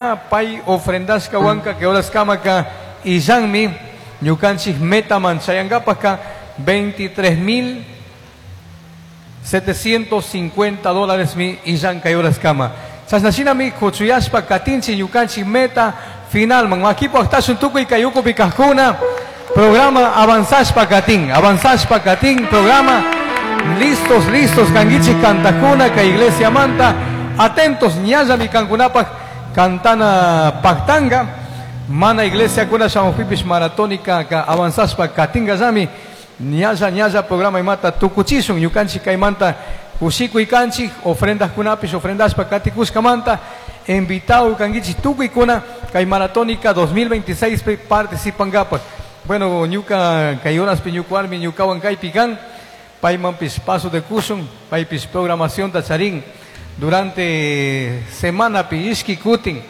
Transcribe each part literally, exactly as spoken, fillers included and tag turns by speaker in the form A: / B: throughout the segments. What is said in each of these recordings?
A: Pay ofrendashka wanka kay horaskamaka illanmi ñukanchik metaman chayankapaka veintitrés mil setecientos cincuenta dólares mi illan kay horaskama. Chashnashinami kuchuyashpa katinchik ñukanchik meta finalman. Makipo aktashun tukuy kay ukupi kajkuna programa avanzashpa katin, avanzashpa katin programa. Listos, listos kankichik kantakuna kay iglesia manta. Atentos ñallami kankunapaj cantana pactanga, mana iglesia kuna shamupipish maratónica ka avanzashpa katinga llami, ñalla ñalla programa imata tukuchishun ñukanchik kaymanta kushikuy kanchik ofrendas kunapish ofrendashpa katikushkamanta invitado kankichik tukuykuna kay maratónica dos mil veintiséis pi participangapak. Bueno, ñuka kay horaspi ñuka warmi ñukawan kaypi kan, paymanpish paso de kushun, paypish programación ta charin. Durante semana pi ishki kutin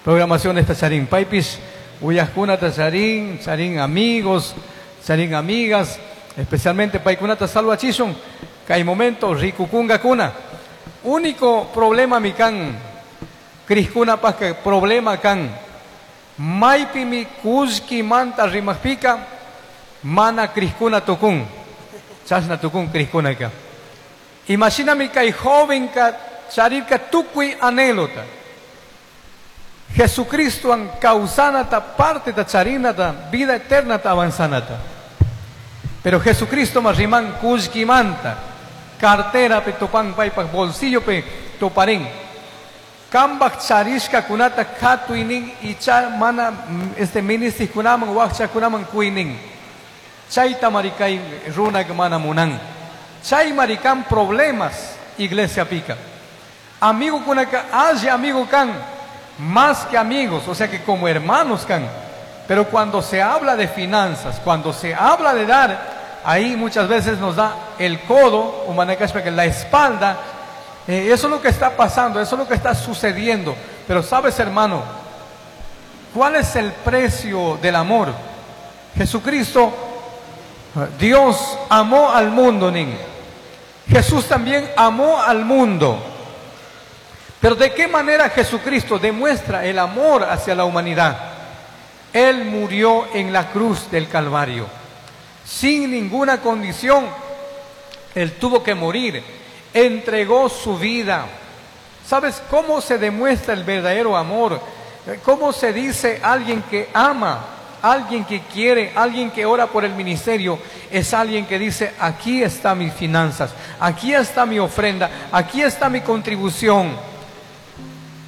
A: programación esta charín paypis uyajkunata charín, charín amigos, charín amigas, especialmente paykunata salvachishun kay momento rikukungakuna. Único problema mi kan krishkunapaj que problema kan maypi mi kullki manta rimajpika mana krishkuna tukun chashna tukun krishkunaka. Imagíname kay joven ka charirka tukuy anhelota. Jesucristo an causanata parte ta charinata vida eterna ta avanzanata. Pero Jesucristo ma riman kullkimanta cartera pe topan paypak bolsillo pe toparín. Kambak charishka kunata katuinin icha mana este ministri kunaman wakcha kunaman kuinin. Chayta marikay runa mana munan. Chay marikan problemas iglesia pica. Amigo kunaka alli amigo kan, más que amigos, o sea que como hermanos kan. Pero cuando se habla de finanzas, cuando se habla de dar, ahí muchas veces nos da el codo, o manacashpa, que la espalda. Eh, eso es lo que está pasando, eso es lo que está sucediendo. Pero sabes, hermano, ¿cuál es el precio del amor? Jesucristo, Dios amó al mundo, nin. Jesús también amó al mundo. Pero ¿de qué manera Jesucristo demuestra el amor hacia la humanidad? Él murió en la cruz del Calvario. Sin ninguna condición, Él tuvo que morir. Entregó su vida. ¿Sabes cómo se demuestra el verdadero amor? ¿Cómo se dice alguien que ama, alguien que quiere, alguien que ora por el ministerio? Es alguien que dice, aquí están mis finanzas, aquí está mi ofrenda, aquí está mi contribución.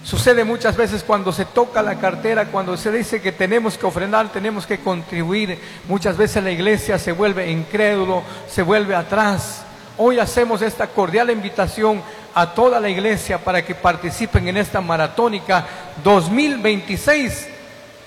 A: Sucede muchas veces cuando se toca la cartera, cuando se dice que tenemos que ofrendar, tenemos que contribuir. Muchas veces la iglesia se vuelve incrédulo, se vuelve atrás. Hoy hacemos esta cordial invitación a toda la iglesia para que participen en esta maratónica dos mil veintiséis.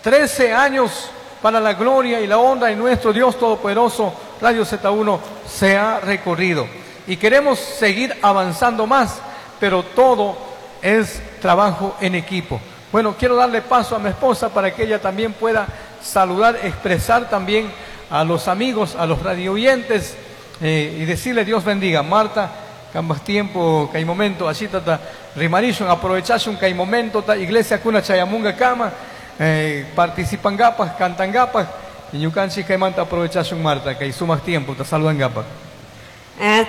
A: trece años para la gloria y la honra de nuestro Dios Todopoderoso. Radio Z uno se ha recorrido y queremos seguir avanzando más, pero todo es trabajo en equipo. Bueno, quiero darle paso a mi esposa para que ella también pueda saludar, expresar también a los amigos, a los radioyentes, eh, y decirle Dios bendiga. Marta, cambas tiempo, que hay momento, así tata, rimarishun, aprovechashun, que hay momento, ta iglesia kuna chayamunga kama, eh, participan gapas, cantan gapas, y ñukanchik kaymanta aprovechashun, Marta, que hay sumas tiempo, te saludan gapas.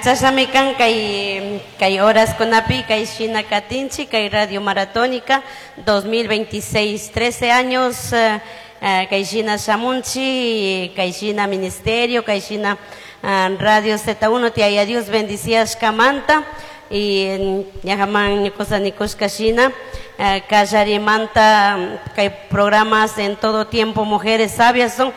B: Chashami kan kay, kay horas kunapi, kay shina katinchi, kay Radio Maratónica dos mil veintiséis, trece años, eh, kay shina shamunchi, kay shina ministerio, kay shina, eh, Radio Z uno, te haya Dios bendicias kamanta, y ñajaman ñukosa nikushka shina, eh, kallarimanta, kay programas en todo tiempo, mujeres sabias son.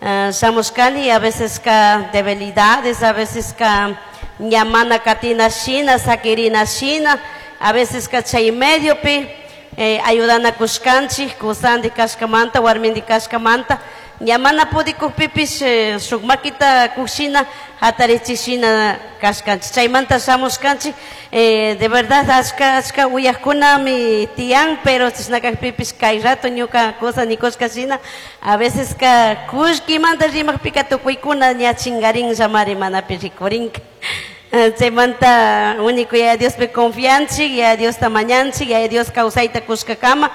B: Uh, shamushkani, a veces ka debilidades, a veces ka ñamana katina shina, sakirina shina, a veces ka chay medio pi, eh, ayudana kushkanchik, kusandi kashkamanta, warmindi kashkamanta, ñamana pudikukpipish, eh, shuk makita kushina, hatarichishina kashkanchik. Chaymanta shamushkanchik, eh, de verdad ashka, ashka uyajkunami tiyan, pero chishnakakpipish kay rato ñuka cosa nikushka shina, a veces ka kullkimanta rimajpika tukuykuna ña chingarin llamari manapi rikurinka. Chaymanta único ya Dios pe confianchik, ya Dios ta mañanchik, ya Dios kawsayta kushkakama,